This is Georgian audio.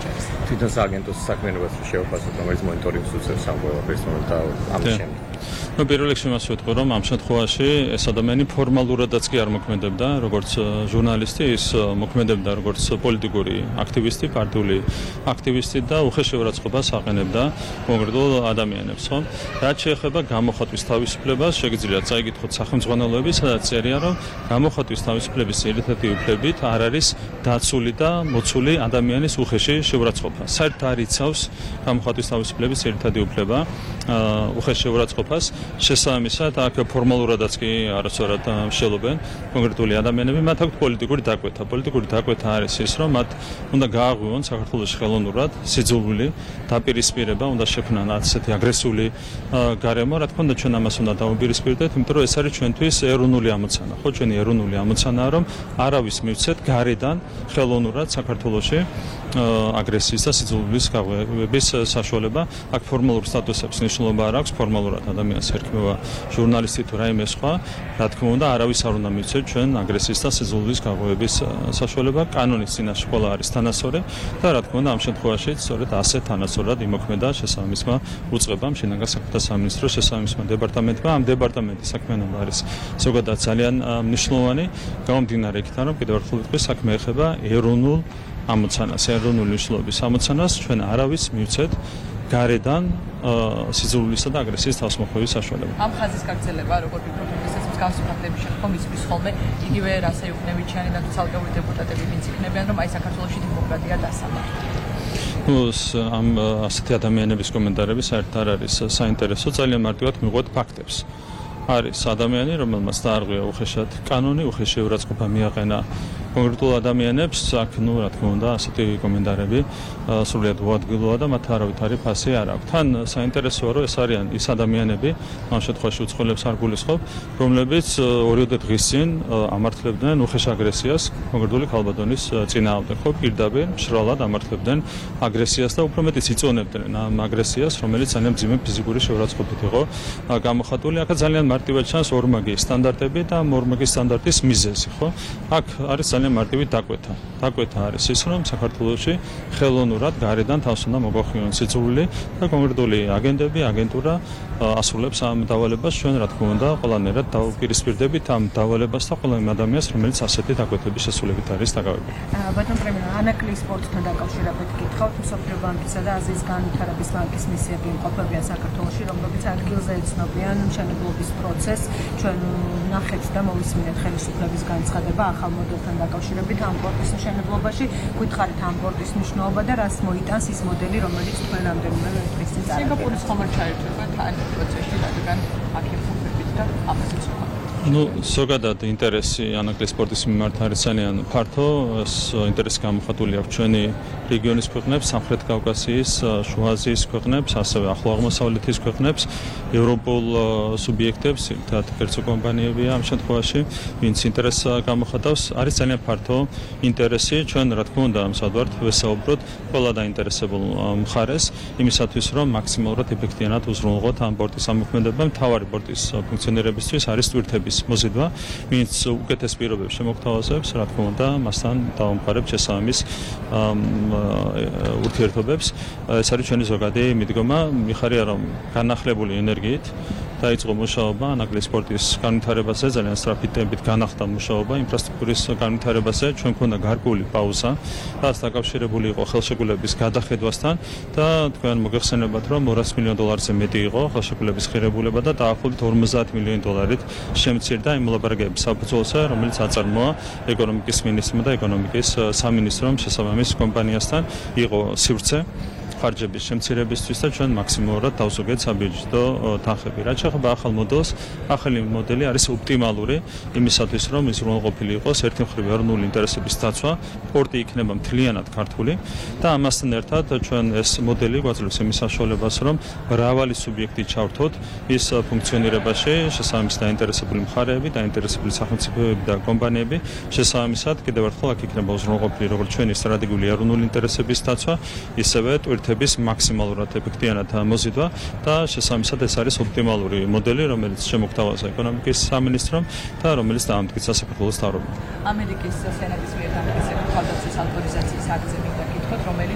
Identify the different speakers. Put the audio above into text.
Speaker 1: შორის.
Speaker 2: თვითონ სააგენტოს საქმიანობას შევაფასოთ, რომელიც მონიტორინგს უწევს ამ ყველაფერს და ამის შემდეგ.
Speaker 3: პირველ რიგში მას ვეთქვი, რომ ამ შემთხვევაში ეს ადამიანი ფორმალურადაც კი არ მოქმედებდა, როგორც ჟურნალისტი, ის მოქმედებდა როგორც პოლიტიკური აქტივისტი, პარტიული აქტივისტი და უხეშეურაცხყოფას აყენებდა კონკრეტულ ადამიანებს, ხო? რაც შეეხება გამოხატვის თავისუფლებას, შეგიძლიათ წაიკითხოთ სახელმძღვანელოები, სადაც წერია, რომ გამოხატვის თავისუფლების ერთ-ერთი უფლებით არ არის დაცული და მოცული ადამიანის უხეში შეურაცხყოფა. საერთოდ არ იცავს გამოხატვის თავისუფლების ერთ-ერთი უფლება უხეში შეურაცხყოფას. შესაბამისად, აქ ფორმალურადაც კი არასწორად მსჯელობენ კონკრეტული ადამიანები, მათ აქვთ პოლიტიკური დაკვეთა. პოლიტიკური დაკვეთა არის ის, რომ მათ უნდა გააღვივონ საქართველოს ხელოვნურად სიძულვილი დაპირისპირება, უნდა შექმნან ასეთი აგრესიული გარემო, რა თქმა უნდა, ჩვენ ამას უნდა დავუპირისპირდეთ, იმიტომ რომ ეს არის ჩვენთვის ეროვნული ამოცანა, ხო, ჩვენი ეროვნული ამოცანაა, რომ არავის მივცეთ გარედან ხელოვნურად საქართველოში აგრესიის და სიძულვილის გაღვივების საშუალება. აქ ფორმალურ სტატუსებს მნიშვნელობა არ აქვს, ფორმალურად ადამიანს ერქმევა ჟურნალისტი თუ რაიმე სხვა, რა თქმა უნდა, არავის არ უნდა მივცეთ ჩვენ აგრესიის და სიძულვილის გაღვივების საშუალება. კანონის წინაშე ყველა არის თანასწორი და რა თქმა უნდა, ამ შემთხვევაში სწორედ ასე თანასწორად იმოქმედა შესაბამისმა უწყებამ, შინაგან საქმეთა სამინისტროს შესაბამისმა დეპარტამენტმა. ამ დეპარტამენტის საქმიანობა არის ზოგადად ძალიან მნიშვნელოვანი, გამომდინარე იქიდან, რომ კიდევ ერთხელ ვიტყვი, საქმე ეხება ეროვნულ ამოცანას, ეროვნული მნიშვნელობის ამოცანას, ჩვენ არავის მივცეთ გარედან სიძულვილისა და აგრესიის თავსმოხვევის საშუალება.
Speaker 1: ამ ხაზის გაგრძელება, როგორ ვფიქრობთ, ესეც მსგავსი ფაქტების შემდგომ იცის ხოლმე იგივე რასე იუკნევიჩიანი და ცალკეული დეპუტატები, ვინც იქნებიან, რომ აი საქართველოში დემოკრატია დასამართლება.
Speaker 3: ამ ასეთი ადამიანების კომენტარები საერთოდ არ არის საინტერესო, ძალიან მარტივად მივყვეთ ფაქტებს. არის ადამიანი, რომელმაც დაარღვია უხეშად კანონი, უხეში შეურაცხყოფა მიაყენა კონკრეტულ ადამიანებს, აქ ნუ რა თქმა უნდა, ასეთი კომენტარები სრულიად უადგილოა და მათ არავითარი ფასი არ აქვს. თან საინტერესოა, რომ ეს არიან ის ადამიანები, ამ შემთხვევაში უცხოელებს არ გულისხმობ, რომლებიც ორიოდე დღის წინ ამართლებდნენ უხეშ აგრესიას კონკრეტული ქალბატონის წინააღმდეგ, ხო, პირდაპირ მშრალად ამართლებდნენ აგრესიას და უფრო მეტიც იწონებდნენ ამ აგრესიას, რომელიც ძალიან მძიმე ფიზიკური შეურაცხყოფით იყო გამოხატული. აქ ძალიან მარტივად ჩანს ორმაგი სტანდარტები და ორმაგი სტანდარტის მიზეზი, ხო? აქ არის ძალიან მარტივი დაკვეთა. დაკვეთა არის ის, რომ საქართველოში ხელოვნურად გარედან თავს უნდა მოგოხვიონ სიძულვილი და კონკრეტული აგენტები, აგენტურა ასრულებს ამ დავალებას. ჩვენ რა თქმა უნდა, ყველანაირად დავუპირისპირდებით ამ დავალებას და ყველა იმ ადამიანს, რომელიც ასეთი დაკვეთების შესრულებით არის დაკავებული.
Speaker 1: ბატონ პრემიერ, ანაკლი სპორტთან დაკავშირებით გითხავთ, მსოფლიო ბანკისა და აზიის განვითარების ბანკის მისიები იმყოფებიან საქართველოში, რომლებიც ადგილზე ეცნობიან მშენებლობის პროცესს. ჩვენ ნახეთ და მოვისმინეთ ხელისუფლების განცხადება ახალ მოდელთან დაკავშირებით ამ პორტის მშენებლობაში. გითხარით ამ პორტის მნიშვნელობა და რას მოიტანს ის მოდელი, რომელიც თქვენ რამდენიმე დღის წინ წარადგინეთ. სინგაპურის ხომ არ ჩაირჩება თან პროცესში, რადგან აქ იმყოფებით და ამასაც ვთქვა.
Speaker 3: ზოგადად ინტერესი ანაკლის სპორტის მიმართ არის ძალიან ფართო. ეს ინტერესი გამოხატული აქვს ჩვენი რეგიონის ქვეყნებს, სამხრეთ კავკასიის, შუა აზიის ქვეყნებს, ასევე ახლო აღმოსავლეთის ქვეყნებს, ევროპულ სუბიექტებს, ერთად კერძო კომპანიებია ამ შემთხვევაში, ვინც ინტერესს გამოხატავს. არის ძალიან ფართო ინტერესი. ჩვენ რა თქმა უნდა ამსადვართ ვესაუბროთ ყველა დაინტერესებულ მხარეს იმისათვის, რომ მაქსიმალურად ეფექტიანად უზრუნველყოთ ამ პორტის ამოქმედება. მთავარი პორტის ფუნქციონირებისთვის არის ტვირთების მოზიდვა, ვინც უკეთეს პირობებს შემოგთავაზებს, რა თქმა უნდა, მასთან დავამყარებთ შესაბამის ურთიერთობებს. ეს არის ჩვენი ზოგადი მიდგომა. მიხარია, რომ განახლებული ენერგიით დაიწყო მუშაობა ანაკლის სპორტის განვითარებაზე, ძალიან სწრაფი ტემპით განახლდა მუშაობა ინფრასტრუქტურის განვითარებაზე. ჩვენ მქონდა გარკვეული პაუზა, რაც დაკავშირებული იყო ხელშეკრულების გადახედვასთან და თქვენ მოგეხსენებათ, რომ $200 მილიონზე მეტი იყო ხელშეკრულების ღირებულება და დაახლოებით $50 მილიონით შემცირდა იმ მოლაპარაკებების საფუძველზე, რომელიც აწარმოა ეკონომიკის მინისტრმა და ეკონომიკის სამინისტრომ შესაბამის კომპანიასთან. იყო სივრცე ხარჯების შემცირებისთვის და ჩვენ მაქსიმალურად დავზოგეთ საბიუჯეტო თანხები. რაც შეეხება ახალ მოდელს, ახალი მოდელი არის ოპტიმალური იმისათვის, რომ ის უზრუნველყოფილი იყოს ერთი მხრივ ეროვნული ინტერესების დაცვა, პორტი იქნება მთლიანად ქართული და ამასთან ერთად ჩვენ ეს მოდელი გვაძლევს იმის საშუალებას, რომ მრავალი სუბიექტი ჩავრთოთ ის ფუნქციონირებაში, შესაბამის დაინტერესებული მხარეები, დაინტერესებული სახელმწიფოები და კომპანიები. შესაბამისად, კიდევ ერთხელ აქ იქნება უზრუნველყოფილი როგორც ჩვენი სტრატეგიული ეროვნული ინტერესების დაცვა, ისევე ტვირთების მაქსიმალურად ეფექტიანად მოზიდვა და შესაბამისად ეს არის ოპტიმალური მოდელი, რომელიც შემოგთავაზა ეკონომიკის სამინისტრომ და რომელიც დაამტკიცა საქართველოს მთავრობამ.
Speaker 1: ამერიკის სენატის მიერ დამტკიცებული თავდაცვის ავტორიზაციის აქტზე მინდა გითხოთ, რომელიც